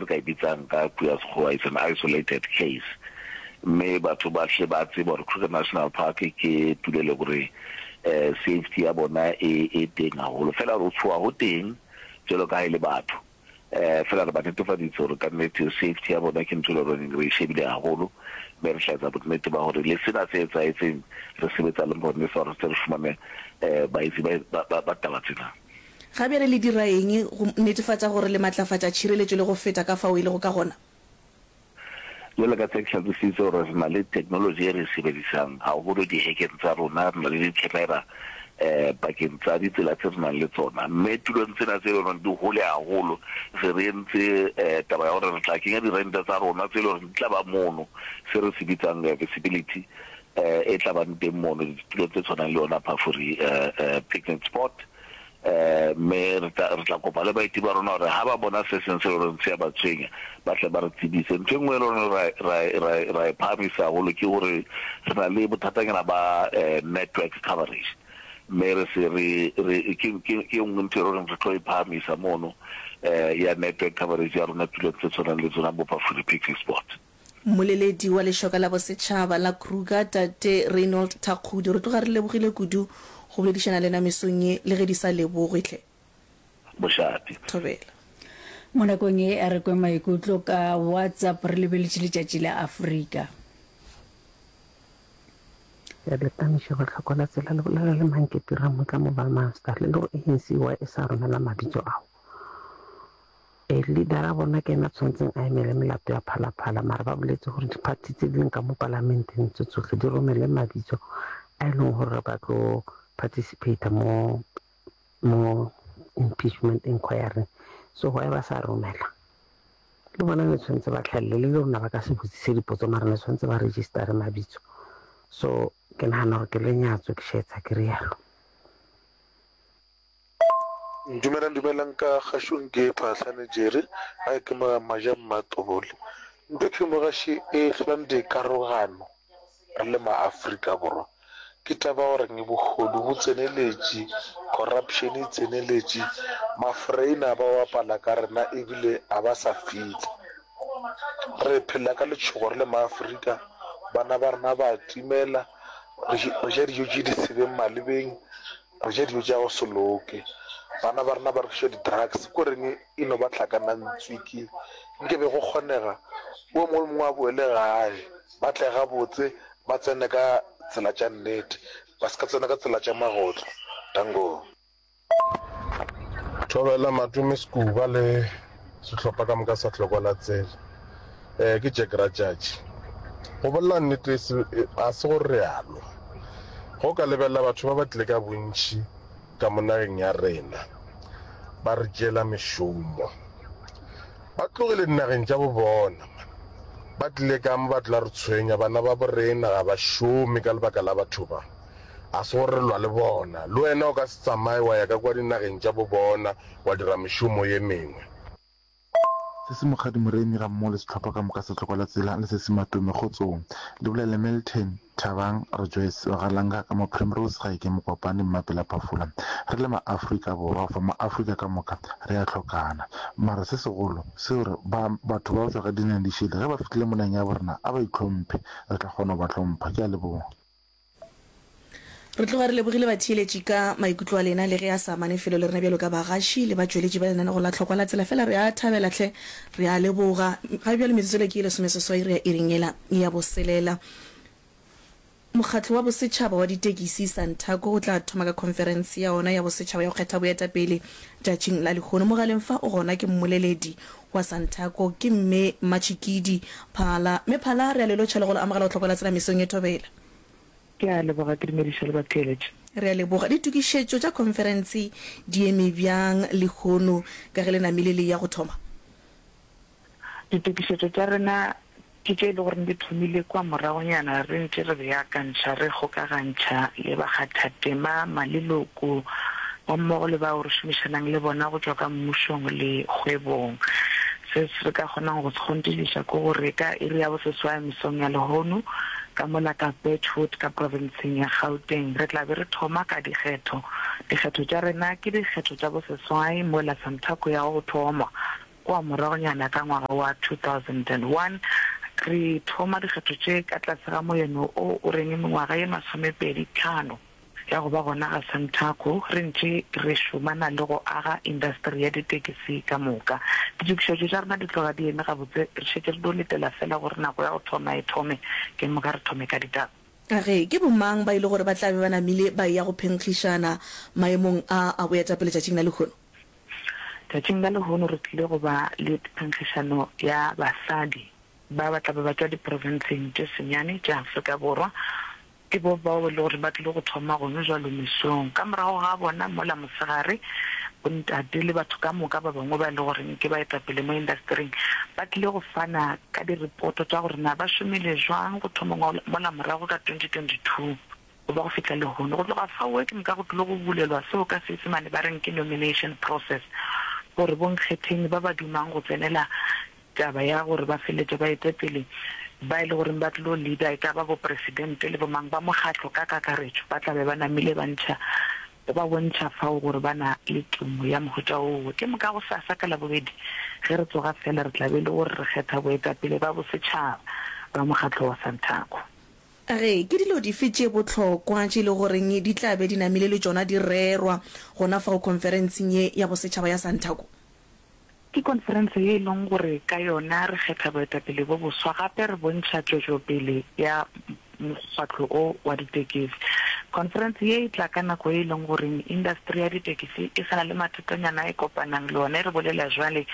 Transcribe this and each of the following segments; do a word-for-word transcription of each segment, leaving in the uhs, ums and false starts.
re ka e bitsang ka puo ya Sekgowa it's an isolated case. Mme batho ba hle ba tseba gore Kruger National Park ke tulo e le gore um safety ya bona e e teng haholo. Fela re tshoha ho teng jwalo ka ha e le batho. Um fela re ba netefaditse gore ka nnete safety ya bona ke ntho e le goreng re e shebile haholo, mme re tla etsa bonnete ba gore le sena se etsahetseng re sebetsa le maponesa gore re tle re fumane um baetsi ba ba ba taba tsena. Ga bjale le dira eng go netefatša gore le matlafatša tšhireletšo le go feta ka fao e lego ka gona? Jwalo ka se ke hlalositse gore re na le technology e re e sebedisang haholo dihekeng tsa rona, re na le di-camera um pakeng tsa ditsela tse re nang le tsona, mme tulong tsena tse e leng gore di hole haholo se re entse um taba ya gore re tla kenya dirente tsa rona tse e leng gore di tla ba mono, se re se bitsang visibility um e tla bang teng mono ditulong tse tshwanang le yona Phafuri um picnic spot. Um mme re tla re tla kopa le baeti ba rona gore ha ba bona se seng se e leng gore se a ba tshwenya, ba tle ba re tsebise. Ntho e nngwe e leng gore ra ra ra ra e phahamisa haholo ke gore re na le bothatanyana ba um network coverage, mme re se re re ke ke ke e nngwe ntho e leng gore re tlo e phahamisa mono um ya network coverage ya rona tulong tse tshwanang le tsona bo Phafuri picnic spot. Mmoleledi wa Lešoka la Bosetšhaba la Kruger, Tate Reynold Thakgodi, re tloga re lebogile kudu go boledišana le na mesong ye, le ge di sa lebogwe hle. Mošate. Thobela. Mo nakong ye a re kwe maikutlo ka WhatsApp re lebeletše letšatši la Afrika. Ya letamiša go hlokola tsela le bolela le Manketti Ramotla Mobile Master le le go A N C Y e sa romela mabitso ao. E leader a bona ke ena tshwantseng a emele melato ya Phalaphala, mara ba boletse gore di-party tse di leng ka mo palamenteng tse tsohle di romele mabitso a e leng gore ba tlo participate mo mo impeachment inquiry. So why ba sa romela? Le bona ne tshwanetse ba tlhalle, le rona ba ka se botsise dipotso, mara ne tshwanetse ba registere mabitso. So ke nagana gore ke lenyatso ke šetsa ke rialo. Dumelang, dumelang ka kgašong ke Phahlane Jerry, gae ke mo Maja Mmatobole. Ntho ke mogaši e hlolang dikarogano re le ma-Afrika Borwa ke taba ya gore bohodu bo tseneletše, corruption e tseneletše, mafreina ba bapala ka rena ebile a ba sa fihla. Re phela ka letšhogo re le ma-Afrika, bana ba rena ba timela, re ja dijo tše di sebeng malebeng, re ja dijo tša go se loke, bana ba rena ba rekiša di-drugs, ko reng e no ba hlakanantswiki. Nke be go kgonega o mongwe le mongwe a boele gae, ba tle gabotse, ba tsene ka tsela tša nnete, ba se ka tsena ka tsela tša magotlo. Dango. Thobela Matome Sekuba le sehlopha ka moka sa Hlokwa la Tsela. Eh, ke Jack Ratšatši. Go bolela nnete ga se gore re a lwa. Go ka lebelela batho ba ba tlile ka bontši ka mo nageng ya rena, ba re tšeela mešomo. Ba tlogile dinageng tša bo bona, ba tlile ka mo ba tla re tshwenya. Bana ba bo rena ga ba šome ka lebaka la batho ba. Ga se gore re lwa le bona. Le wena o ka se tsamaye wa ya ka kwa dinageng tša bo bona wa dira mešomo ye mengwe. Sesi Mokgadi Moremi ga mmogo le sehlopha ka moka sa Tlhoko la Tsela le Sesi Matome Kgotsong. Le bolela Milton Thabang Rejoice wa ga Langa ka mo Primrose ga eke Mokopane Mmapela Phafula. Re le ma-Afrika Borwa gofa ma-Afrika ka moka re a hlokana. Mara se segolo se gore ba batho ba go tšwa ka dinageng di šele ge ba fihlile mo nageng ya borena a ba itlhomphe, re tla kgona go ba hlompha. Ke a leboga. Re tloga re lebogile batheeletši ka maikutlo a lena le ge a sa amane felo le rena bjalo ka bagaši le batšweletši ba lenanego la Tlhokwa la Tsela. Fela re a thabela hle, re a leboga. Ga bjale metsotso le ke ye lesomeseswai re ya iring yela ya boselela. Mokgatlo wa Bosetšhaba wa Ditekisi, Santaco, o tla thoma ka khonferense ya ona ya bosetšhaba ya go kgetha boetapele tšatšing la lehono. Mogaleng fa o gona ke mmoleledi wa Santaco, ke Mme Mmatšhikidi Phala. Mme Phala, re a le lotšha le go le amogela go Tlhokwa la Tsela mesong ye thobela. Ke a leboga, ke dumediša le batheeletši. Re a leboga. Ditokišetšo tša khonferense di eme bjang lehono ka ge le namile le ya go thoma? Ditokišetšo tša rena ke tše e le gore di thomile kua moragonyana re ntše re beakantšha, re kgokagantšha le bakgathatema, maleloko gammogo le bao re šomišanang le bona go tšwa ka mmušong le kgwebong. Se re ka kgonang go se kgonthišiša ke gore ka iri ya boseswai mesong ya lehono ka mola ka Birchwood ka profenseng ya Gauteng re tla be re thoma ka dikgetho. Dikgetho tša rena ke dikgetho tša boseswai mola Santaco ya go thoma kua moragonyana ka ngwaga wa two thousand and one. Re thoma dikgetho tše ka tlase ga moeno o o reng mengwaga ye masomepedi tlhano ya go ba gona ga Santaco, re ntše re šomana le go aga indasteri ya ditekisi ka moka. Ditokišetšo tša rena di tloga di eme gabotse, re šetše re dio letela feela gore nako ya go thoma e thome, ke moka re thome ka ditaba. A re, Ke bomang ba e le gore ba tla be ba namile ba eya go phenkgišana maemong a a boetapele tšatšing la lehono? Tšatšing la lehono re tlile go ba le phenkgišano ya basadi ba ba tla be ba tšwa diprofenseng tše senyane tša Afrika Borwa. Ke bo bao e le gore ba tlile go thoma gone jwalo mesong. Ka morago ga bona mola mosegare, bontate le batho ka moka ba bangwe ba e le goreng ke baetapele mo indastering ba tlile go fana ka diripoto tša gore na ba šomile jwang go thoma mola morago ka twenty twenty two go ba go fihla lehono. Go tloga faoe ke moka go tlile go bulelwa seo ka Seisemane ba reng ke nomination process gore bonkgetheng ba ba dumang go tsenela taba ya gore ba feletše ba ete pele ba e le goreng ba tlilo leader, e ka ba bopresidente le bomang ba mokgatlo ka kakaretšo, ba tla be ba namile ba ntšha, ba bontšha fao gore ba na le tumo ya mohuta woo. Ke moka gosasa ka Labobedi ge re tsoga fela re tla be e le gore re kgetha boetapele ba bosetšhaba ba mokgatlo wa Santaco. A re, Ke dilo dife tše bohlokwa tše e le goreng di tla be di namile le tšona di rerwa gona fao khonferenseng ye ya bosetšhaba ya Santaco? Ke konferense ye e leng gore ka yona re kgetha boetapele bo boswa gape re bontšha tšwetšopele ya mokgatlo o wa ditekisi. Konferense ye e tla ka nako ye e leng gore indasteri ya ditekisi e sa na le mathatanyana a e kopanang le ona. E re bolela jwale,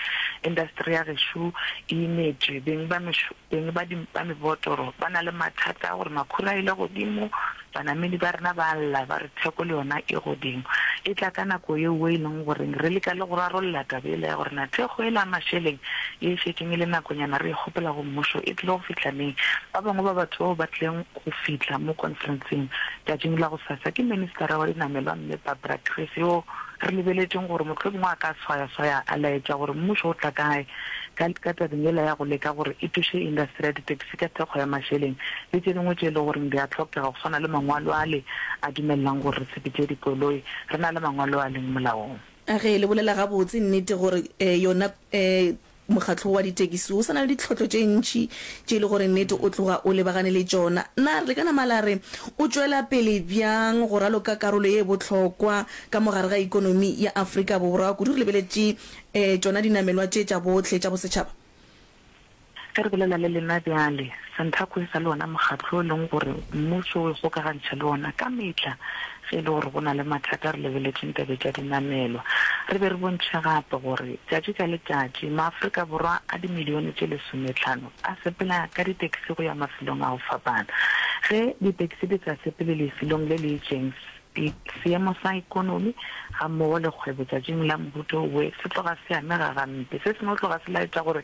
indasteri ya gešo e imetšwe, beng ba beng ba ba mebotoro ba na le mathata a gore makhura a ile godimo, Banamedi ba rena ba a lla ba re theko le yona e godimo. E tla ka nako yeo e leng gore re leka le go rarolla taba yela ya gore na thekgo yela ya mašeleng ye e šetšeng e le nakonyana re e kgopela go mmušo e tlile go fihla neng. Ba bangwe ba batho bao ba tlileng go fihla mo konferenseng tšatšing la gosasa ke Ministara wa Dinamelwa Mme Barbara Creecy yo re lebeletšeng gore mohlomongwe a ka swayaswaya a laetša gore mmušo o tla kae ka ka tabeng yela ya go leka gore e thuše indasteri ya ditekisi ka thekgo ya mašeleng le tše dingwe tše e le goreng di a hlokega go swana le mangwalo ale a dumelelang gore re sepetše dikoloi re na le mangwalo a leng molaong. A ge le bolela gabotse nnete gore yona mokgatlo wa ditekisi o sa na le ditlhotlo tše ntši tše e le gore nnete o tloga o lebagane le tšona. Na re ka nama la re o tšwela pele bjang go raloka karolo ye bohlokwa ka mo gare ga ekonomi ya Afrika Borwa, kudu re lebeletše tšona dinamelwa tše tša bohle tša bosetšhaba? Ge re bolela le lena bjale, Santaco e sa le wona mokgatlo o e leng gore mmušo o ikgokagantšha le wona ka mehla ge e le gore go na le mathata re lebeletšeng tabe tša dinamelwa. Re be re bontšhe gape gore tšatši ka letšatši maAfrika Borwa a dimilione tše lesometlhano a sepela ka ditekisi go ya mafelong a go fapana. Ge ditekisi di sa sepele lefelong le le itšeng, seemo sa ekonomi gammogo le kgwebo tšatšing la mohuta owe se tloga se amega gampe. Se sengwe tloga se laetša gore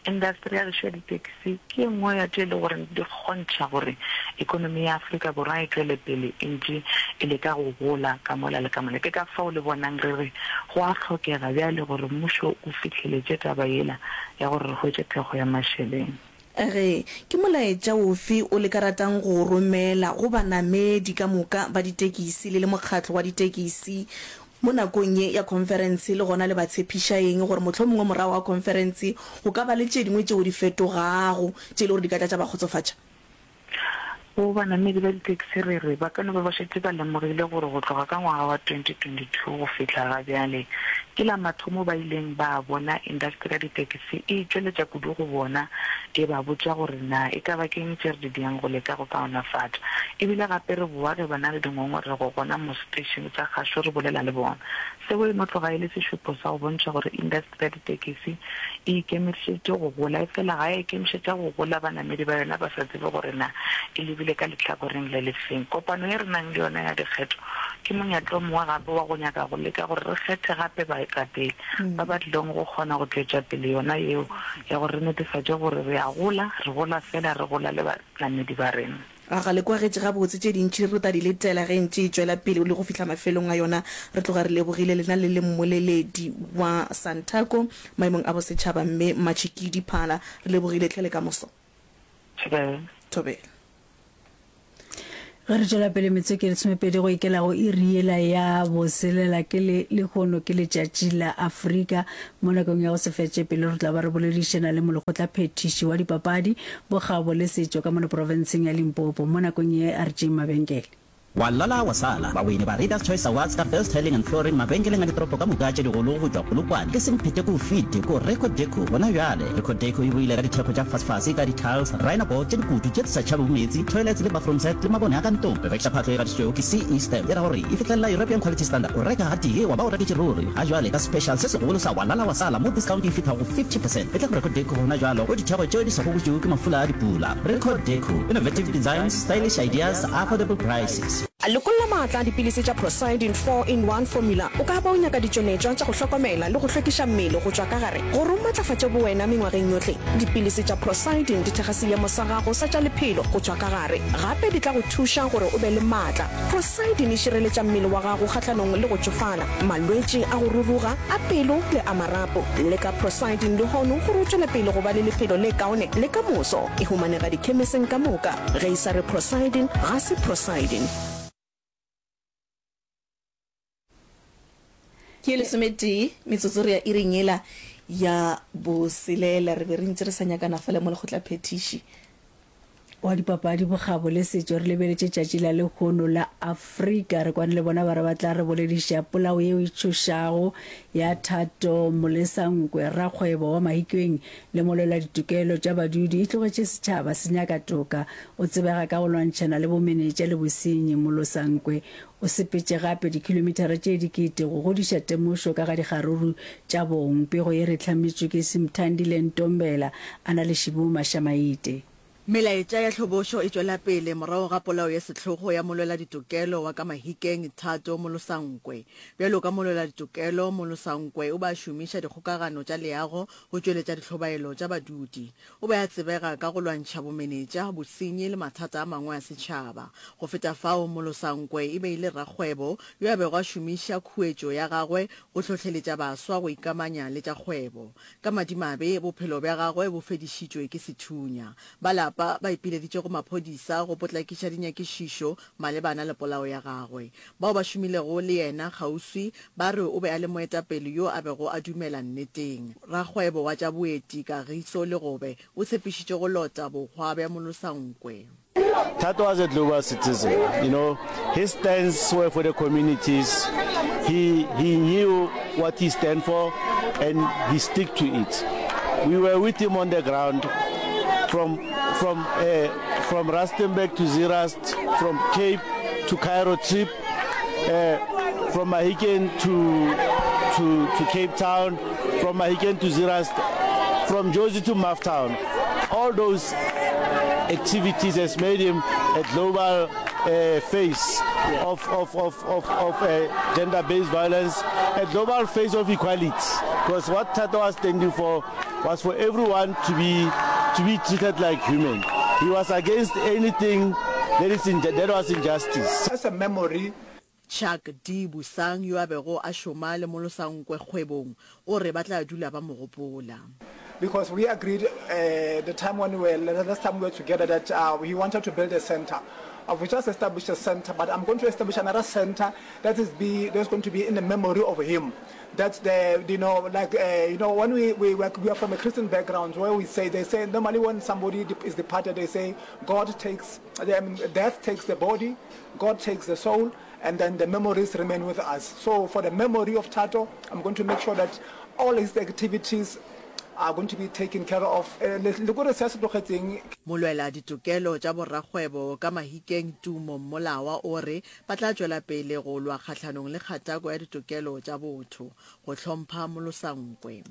indasteri ya gešo ya ditekisi ke ye nngwe ya tše e le gore di kgontšha gore ekonomi ya Afrika Borwa e tšwele pele e ntše e leka go gola ka mola le ka mola. Ke ka fao le bonang re re go a hlokega bjale gore mmušo o fihleletše taba yela ya gore re hwetše thekgo ya mašeleng. A re, Ke molaetša ofe o le ka ratang go o romela go banamedi ka moka ba ditekisi le le mokgatlo wa ditekisi mo nakong ye ya khonferense le gona le ba tshepiša eng gore mohlomongwe morago ga khonferense go ka ba le tše dingwe tšeo di fetogago tše e le gore di ka tla tša ba kgotsofatša? Go banamedi ba ditekisi re re ba ka no ba ba šetše ba lemogile gore go tloga ka ngwaga wa twenty twenty two go fihla ga bjale ke la mathomo ba ileng ba bona indasteri ya ditekisi e itšweletša kudu go bona e ba botša gore na e ka ba ke'ng tše re di diang go leka go kaonafatša. E bile gape re boa ge ba na le dingongorego gona mo seteišene sa kgašo re bolela le bona. Seo e no tloga e le sešupo sa go bontšha gore indasteri ya ditekisi e ikemišeditše go gola, efela ga ya ikemišetša go gola banamedi ba yona ba sa tsebe gore na e lebile ka lehlakoreng le lefeng. Kopano ye re nang le yona ya dikgetho ke monyetla o mongwe gape wa go nyaka go leka gore re kgethe gape baetapele ba ba tlilego go kgona go tšwetša pele yona yeo ya gore re netefatše gore re a gola, re gola fela re gola le banamedi ba rena. A ga le kwagetše gabotse? Tše dintši re tla di letela ge e ntše e tšwela pele le go fihla mafelong a yona. Re tloga re lebogile lena le le mmoleledi wa Santaco maemong a bosetšhaba, Mme Mmatšhikidi Phala. Re lebogile hle le ka moso. Thobela. Thobela. Ge re tšwela pele metsotso e lesomepedi go ikela go iri yela ya boselela ke le lehono ke letšatši la Afrika. Mo nakong ya go se fetše pelo re tla ba re boledišana le molekgotlaphethiši wa dipapadi, bokgabo le setšo ka mono profenseng ya Limpopo. Mo nakong ye a re tšeeng mabenkele. Wa lala wa sala, bawini ba Readers Choice Awards ka Best Tiling and Flooring mabenkeleng a ditoropo ka moka tše digolo go tšwa Polokwane ke Semphete ko Fete ko Record Deco gona bjale. Record Deco e boile ka dithekgo tša fasefase ka di-tiles, rhino board tše dikutu tše di sa tšhabego meetse, toilets le bathroom set le mabone a ka ntlong. Re rekiša phahlo e gatišitšwego ke C E Stamp, e ra gore e fihlelela European Quality Standard. O reka gatee wa ba o reketše ruri. Ga jwale ka special se segolo sa wa lala wa sala mo discount e fihla go fifty percent. Etla go Record Deco gona bjalo go dithekgo tšeo di sa gobotšwego ke mafula a dipula. Record Deco, innovative designs, stylish ideas, affordable prices. Lokolla maatla a dipilisi tša Procyldin four in one Formula. O ka ba o nyaka ditšweletšwa tša go hlokomela le go hlwekiša mmele go tšwa ka gare gore o matlafatše bowena mengwageng yohle. Dipilisi tša Procyldin di thekga seemo sa gago sa tša lephelo go tšwa ka gare. Gape di tla go thuša gore o be le maatla. Procyldin e šireletša mmele wa gago kgahlanong le go tšofala, malwetši a go ruruga, a pelo le a marapo. Leka Procyldin lehono gore o tšwele pele go ba le lephelo le kaone le ka moso. E humanega dikhemiseng ka moka. Ge e sa re Procyldin, ga se Procyldin. Ke lesometee metsotso re ya iring yela ya boselela. Re be re ntše re sa nyakana fale mo lekgotlaphethiši. Wa dipapadi, bokgabo le setšo re lebeletše tšatši la lehono la Afrika. Re kwane le bona ba re ba tla re bolediša polao yeo e tšhošago ya Thato Molesankwe, rakgwebo wa Mahikeng le molwela ditokelo tša badudi, e tlogetše setšhaba se nyaka toka. O tsebega ka go lwantšhana le bomenetša le bosenyi. Molosankwe o sepetše gape dikhilomithara tše dikete go godiša temošo ka ga dikgaruru tša bong. Pego ye re hlametšwe ke Simthandile Ntombela a na le Šibu Mashamaite. Melaetša ya tlhobošo e tšwela pele morago ga polao ya sehlogo ya molweladitokelo wa ka Mahikeng Thato Molosankwe. Bjalo ka molweladitokelo, Molosankwe o be a šomiša dikgokagano tša leago go tšweletša dihlobaelo tša badudi. O be a tsebega ka go lwantšha bomenetša, bosenyi le mathata a mangwe a setšhaba. Go feta fao, Molosankwe e be e le rakgwebo yo a bego a šomiša khuetšo ya gagwe go hlohleletša baswa go ikamanya le tša kgwebo. Ka madimabe, bophelo bja gagwe bo fedišitšwe ke sethunya. Ba lapa ba ipileditše go maphodisa go potlakiša dinyakišišo malebana le polao ya gagwe. Bao ba šomilego le yena kgauswi ba re o be a le moetapele yo a bego a dumela nneteng. Rakgwebo wa tša boeti Kagiso Legobe o tshepišitše go lota bohwa bja Molosankwe. Thato was a global citizen. You know, his stance were for the communities. He, he knew what he stand for and he stick to it. We were with him on the ground from, from, uh, from Rustenburg to Zeerust, from Cape to Cairo trip, uh, from Mahikeng to, to, to Cape Town, from Mahikeng to Zeerust, from Jozi to Maftown. All those activities has made him a global uh, face of, of, of, of, of uh, gender-based violence, a global face of equality. Because what Thato was standing for was for everyone to be, to be treated like human. He was against anything that, is in, that was injustice. As a memory. Chuck D. Busang yo a bego a šoma le Molosankwe kgwebong o re ba tla dula ba mo gopola. Because we agreed, uh, the time when we were, the last time we were together, that, uh, he wanted to build a center. Uh, we just established a center, but I'm going to establish another center that is be, that's going to be in the memory of him. That's the, you know, like, uh, you know, when we, we, we are from a Christian background, where we say, they say, normally when somebody de-, is departed, they say, God takes, I mean, death takes the body, God takes the soul, and then the memories remain with us. So for the memory of Thato, I'm going to make sure that all his activities are going to be taken care of. Eh, le, le kore se a se tlogetseng. Molwela ditokelo tša borrakgwebo ka Mahikeng Tumo Mmolawa o re ba tla tšwela pele go lwa kgahlanong le kgatako ya ditokelo tša botho, go hlompha Molosankwe.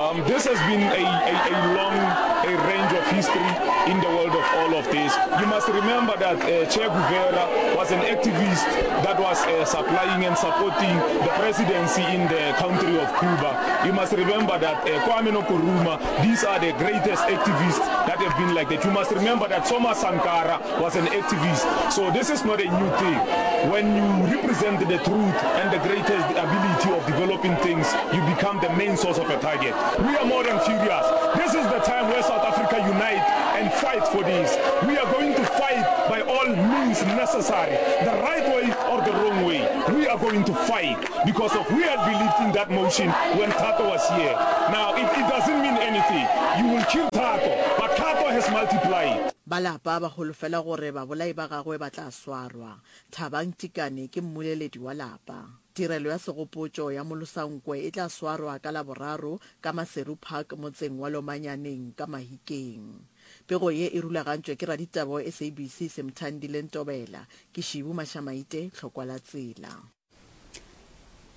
Um, this has been a, a, a long a range of history in the world of all of this. You must remember that, uh, Che Guevara was an activist that was, uh, supplying and supporting the presidency in the country of Cuba. You must remember that, uh, Kwame Nkrumah, these are the greatest activists that have been like that. You must remember that Thomas Sankara was an activist. So this is not a new thing. When you represent the truth and the greatest ability of developing things, you become the main source of a target. We are more than furious. This is the time where South Africa unite and fight for this. We are going to fight fight by all means necessary, the right way or the wrong way. We are going to fight because of we had believed in that motion when Thato was here. Now, it, it doesn't mean anything. You will kill Thato, but Thato has multiplied. Ba lapa ba holofela gore babolai ba gagwe ba tla swarwa. Thabang Tikane ke mmoleledi wa lapa. Tirelo ya segopotšo ya Molosankwe e tla swarwa ka Laboraro ka Maseru Park motseng wa Lomanyaneng ka Mahikeng. Pego ye e rulagantšwe ke raditaba wa S A B C Semthandile Ntobela. Ke Šibu Mašamaite, Tlhokwa la Tsela.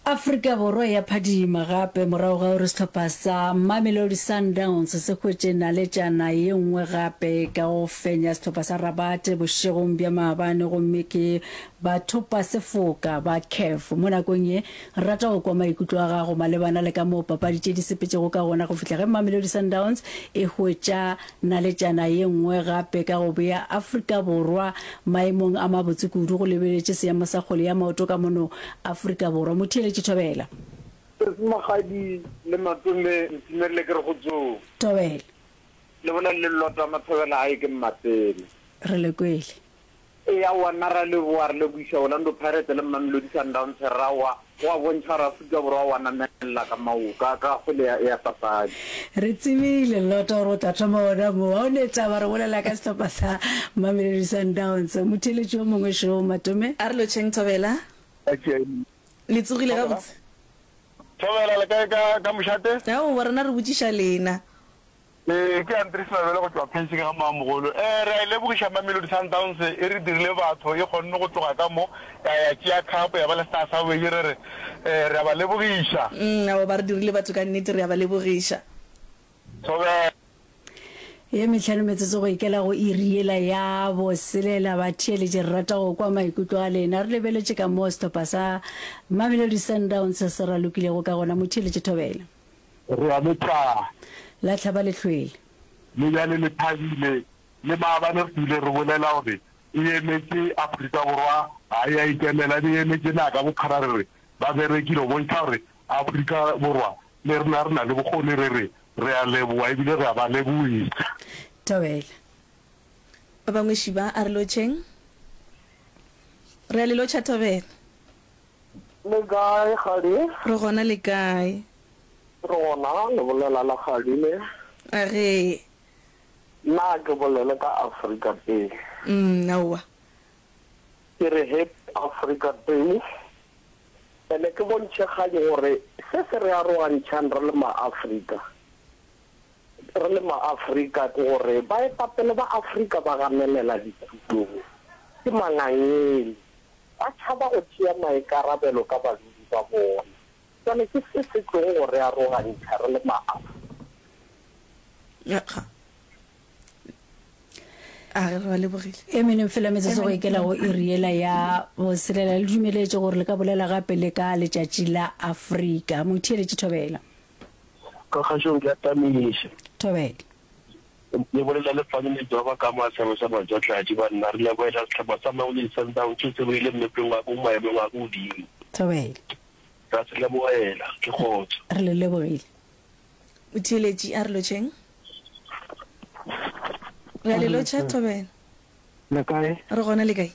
Afrika Borwa ya phadima gape morago ga gore sehlopha sa Mamelodi Sundowns se hwetše naletšana ye nngwe gape ka go fenya sehlopha sa Rabat bošegong bja maabane gomme ke bathopa sefoka ba CAF. Mo nakong ye, re rata go kwa maikutlo a gago malebana le ka moo papadi tše di sepetšego ka gona go fihla ge Mamelodi Sundowns e hwetša naletšana ye nngwe gape ka go bea Afrika Borwa maemong a mabotse kudu go lebeletše seemo sa kgwele ya maoto ka mono Afrika Borwa. Motheeletši Thobela. Sesi Mokgadi le Matome ntumelele ke re go tsong. Thobela. Le bolele le Lota Mathobela gae ke Mmapele. Re le kwele. Eya aowa nna ra leboga re lebogiša Orlando Pirates le Mamelodi Sundowns ra wa go a bontšha gore Afrika Borwa wa namelela ka maoto ka ka kgwele ya ya papadi. Re tsebile Lota gore o tla thoma gona moo. Ga o ne taba re bolela ka sehlopha sa Mamelodi Sundowns. Motheeletši yo mongwe šo Matome. A re lotšheng Thobela. Le tsogile gabotse? Thobela le kae ka ka mošate? Aowa rena re botšiša lena. Ee, ke Andries Mabele go tšwa Pension ga Mamogolo. Ee, re a e lebogiša Mamelodi Sundowns, e re dirile batho, e kgonne go tloga ka mo ya ya tšea cup ya ba le star sa bobedi, re re ee, re a ba lebogiša. Mm, aowa ba re dirile batho ka nnete, re a ba lebogiša. Thobela. Ye mehlano metsotso go ikela go iri yela ya boselela, batheeletši re rata go kwa maikutlo a lena. Re lebeletše ka moo sehlopha sa Mamelodi Sundowns se ralokilego ka gona. Motheeletši Thobela. Re a le tla. La hlaba lehlwele. Le bjale le thabile. Le maabane re ile re bolela gore e emetše Afrika Borwa, ga e a ikemela, e be e emetše naga ka bophara. Re re ba berekile go bontšha gore Afrika Borwa le rena re na le bokgoni. Re re re a leboga ebile re a ba lebogiša. Thobela. Ba bangwe šiba a re lotšheng. Re a le lotšha Thobela. Le kae Kgadi? Re gona le kae? Re gona, le bolela la Kgadi le. A ge. Nna ke bolele ka Afrika Day. Mm, aowa. Ke re Happy Africa Day. Ene ke bontšhe Kgadi gore se se re arogantšhang re le ma-Afrika, re le ma-Afrika ke gore baetapele ba Afrika ba ganelela ditulong, ke mangangele, ba tšhaba go tšea maikarabelo ka badudi ba bona. Bjale ke se se tlogo go re arogantšha re le ma-Afrika. A re ba lebogile. E meneng fela metsotso go ikela go iri yela ya boselela. Le dumeletše gore le ka bolela gape le ka letšatši la Afrika. Motheeletši Thobela. Ka kgašong ke a tamiša. Thobela. Le bolela le Fani Ledwaba ka Masebo sa Majatladi banna re lebohela sehlopha sa Mamelodi Sundowns se se boile mmepeng wa ko maemong a ko godimo. Thobela. Ra se lebohela, ke kgotso. Re le lebogile. Motheeletši a re lotšheng. Re a le lotšha Thobela. Le kae? Re gona le kae?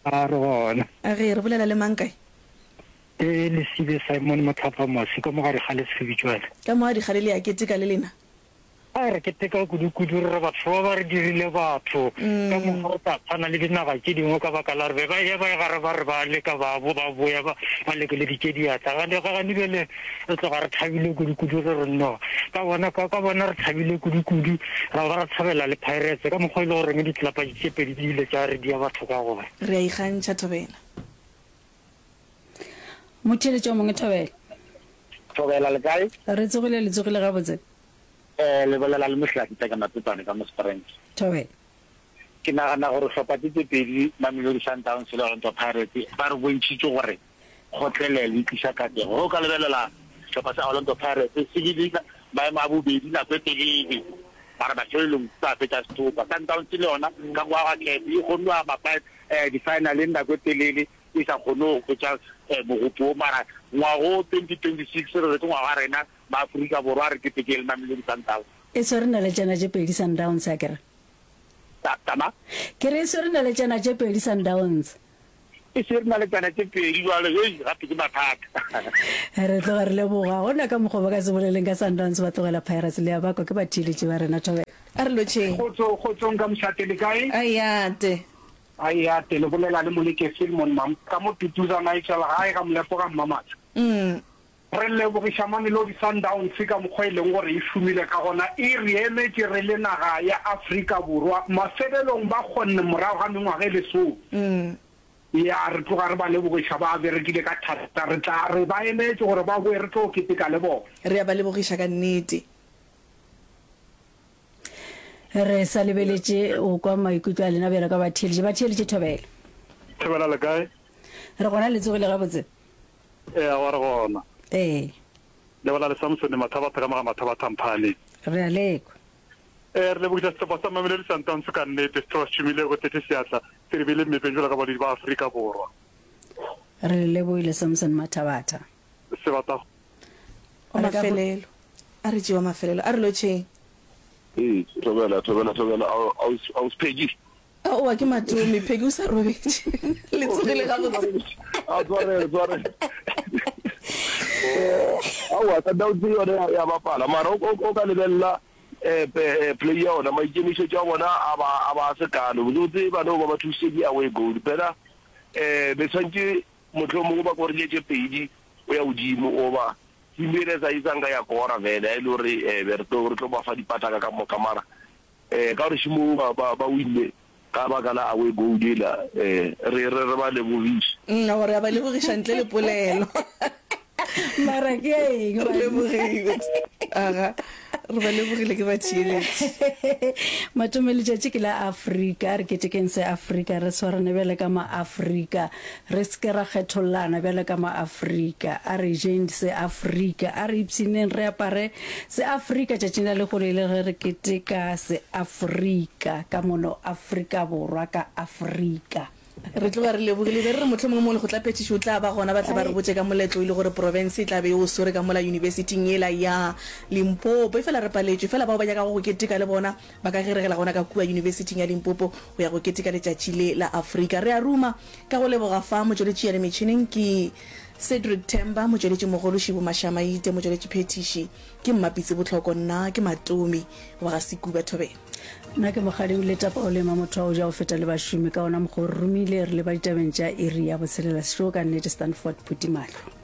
A re gona. A ge re bolela le mang kae? Ke Lesibe Simon Motlhapa Masi ka mo gare ga Lesebitšwale. Ka mo ga dikgale le ya keteka le lena? A re keteka kudu-kudu re re batho ba ba re dirile batho ka mokgwa re tla tshwana le dinaga tše dingwe ka baka la gore be ba eya ba ye gare ba re ba leka ba bo ba boya ba ba lekeleditše diatla gane gane bjale re tloga re thabile kudu-kudu ge re no ka bona ka ka bona re thabile kudu-kudu ra ba ra thabela le Pirates ka mokgwa e le goreng ditlelapa tše pedi di ile tša re dia batho ka gona. Re a ikgantšha Thobela. Motheeletši o mongwe Thobela. Thobela le kae? Re tsogile le tsogile gabotse. Eh, le bolela le Mohlaki Teka Mapetwane ka mo Springs. Thobela. Ke nagana gore hlopha tse tse pedi, Mamelodi Sundowns le Orlando Pirates, ba re bontšhitše gore kgotlelelo e tliša katlego. Ge o ka lebelela sehlopha sa Orlando Pirates se bile maemo a bobedi nako e telele, mara mafelelong sa fetša sethopa. Sundowns le yona ka go aga camp e kgonne go ama di-finaleng nako e telele e sa kgone go hwetša mogopo wo, mara ngwago twenty twenty six re re ke ngwaga wa rena Maafrika Borwa a re ketekeng le Mamelodi Sundowns. E swere naletšana tše pedi Sundowns akere? Ta, Tama? Ke re e swere naletšana tše pedi Sundowns. E swere naletšana tše pedi jwale, hei, gape ke mathata. Re tloga re leboga. Gona ka mokgwa ba ka se boleleng ka Sundowns ba tlogela Pirates le ya ba kwa ke batheeletši ba rena. Thobela. A re lotšheng. Kgotso, kgotsong ka mošate le kae? Ayate. Ayate, le bolela le Moleke Filmon mam ka mo Tutuza Nigel gae ga Molepo ga Mmamatla. Mm. Re lebogiša Mamelodi Sundowns ka mokgwa e leng gore e šomile ka gona, e re emetše re le naga ya Afrika Borwa. Mafelelong ba kgonne morago ga mengwaga e lesome. Mm. Ya, re tloga re ba lebogiša, ba berekile ka thata. Re tla re ba emetše gore ba boe re tlo keteka le bona. Re a ba lebogiša ka nnete. Re sa lebeletše go kwa maikutlo a lena bjalo ka batheeletši. Batheeletši, thobela. Thobela le kae? Re gona, le tsogile gabotse? Ee, aowa re gona. Ee. Le bolela le Samsone Mathabatha ka mo ga Mathabatha Mphaaneng. Re a lekwa. Ee, re lebogiša sehlopha sa Mamelodi Sundowns ka nnete, sehlopha se šomile go tletše seatla, se re beile mmepeng jwalo ka badudi ba Afrika Borwa. Re le lebohile Samson Mathabatha. Sebata. Wa mafelelo. A re tšee wa mafelelo. A re lotšheng. Ee, thobela, thobela, thobela, Ausi Peggy. Aowa, ke Matome. Peggy o sa robetše. Le tsogile gabotse. A tshwarelo, tshwarelo. Aowa, Sundowns yone ya bapala, mara o ka lebelela eh, eh, play ya ona, maikemišetšo a bona a ba a ba se kalo. Botsebotse ba no ba ba thusitše ke away goal. Phela eh be tshwantše mohlomongwe ba korile tše pedi o ya godimo oba team ele sa e sanka ya kora vele a e le gore eh be re tlo re tlo ba fa dipataka ka moka mara eh ka gore šimo ba ba ba winne ka baka la away goal ela eh re re re ba lebogiše. Mm, gore a ba lebogiša ntle le polelo. Mara ke ya eng? Re lebogile. Aga, re ba lebogile ke ba theeletše. Matome letšatši ke la Afrika, a re ketekeng se Afrika, re swarane bjale ka ma-Afrika, re se ke ra kgethollana bjale ka ma-Afrika, a re jeng se Afrika, a re ipshineng re apare se Afrika tšatšing la lehono e le ge re keteka se Afrika ka mono Afrika Borwa ka Afrika. Re tloga re lebogile. Be re re mohlomongwe mo lekgotlaphethiši o tla ba gona ba tle ba re botše ka moletlo e le gore profense e tla be e o swere ka mola yunibesithing yela ya Limpopo. Efela re paletšwe. Efela bao ba nyakago go keteka le bona ba ka geregela gona ka kua yunibesithing ya Limpopo go ya go keteka letšatši le la Afrika. Re a ruma ka go leboga fa motšweletši ya le metšhineng ke Cedric Themba, motšweletšimogolo Šibo Mashamaite, motšweletšiphethiši ke Mmapitsi Bohloko, nna ke Matomi wa ga Sekuba Thobela. Nna ke Mokgadi Uleta Paulema, motho wa go ja go feta le bašomi, ka gona mokgwa o re romile re leba ditabeng tša iri ya botshelela. Sešo ka nnete Stanford Phuti Mahlo.